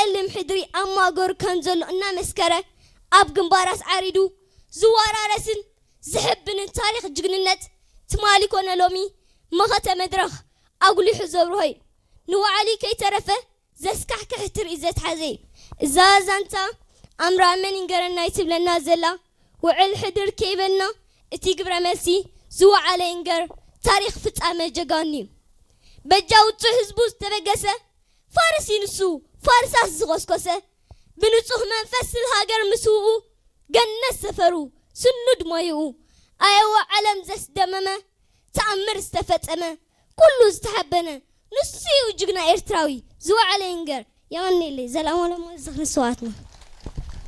ጸሊም ሕድሪ ኣብ ማእገሩ ከም ዘሎ እናመስከረ፣ ኣብ ግንባር ኣስዓሪዱ ዝወራረስን ዝሕብንን ታሪኽ ጅግንነት ትማሊ ኮነ ሎሚ መኸተ መድረኽ ኣጉሊሑ ዘብርሆ እዩ። ንወዓሊ ከይተረፈ ዘስካሕክሕ ትርኢት ዘትሓዘ እዩ። እዛ ዛንታ ኣምራ መን ይንገረና ትብለና ዘላ ውዕል ሕድር ከይበልና እቲ ግብረ መልሲ ዝወዓለ ይንገር ታሪኽ ፍጻመ ጀጋኑ እዩ። በጃ ውጹዕ ህዝቡ ዝተበገሰ ፋርስ እዩ ንሱ፣ ፋርሳስ ዝኾስኮሰ፣ ብንጹህ መንፈስ ስለ ሃገር ምስውኡ ገነት ሰፈሩ፣ ስኑድ ሞይኡ፣ ኣየወ ዓለም ዘስደመመ ተኣምር ዝተፈጸመ፣ ኩሉ ዝተሓበነ ንሱ እዩ ጅግና ኤርትራዊ ዝወዓለ ይንገር። የቐንየለይ። ዘላለም ዝኽሪ ስውኣትና።